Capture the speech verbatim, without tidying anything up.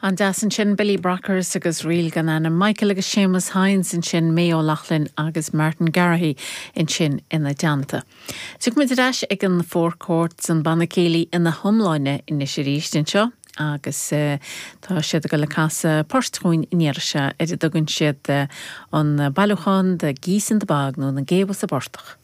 An-deas ansin Billy Brockers agus Ríl gan Ainm Michael agus Seamus Hines ansin May O'Loughlin agus Martin Garrahy ansin ina dteannta. Tiocfaimid ar ais ag an Four Courts an banna céilí ina hiomláine anois arís anseo agus uh, tá siad ag dul a chasadh poirt dúinn an iarraidh seo ar a dtugann siad uh, an bailiúchán The Geese in the Bog nó na géabha sa bportach.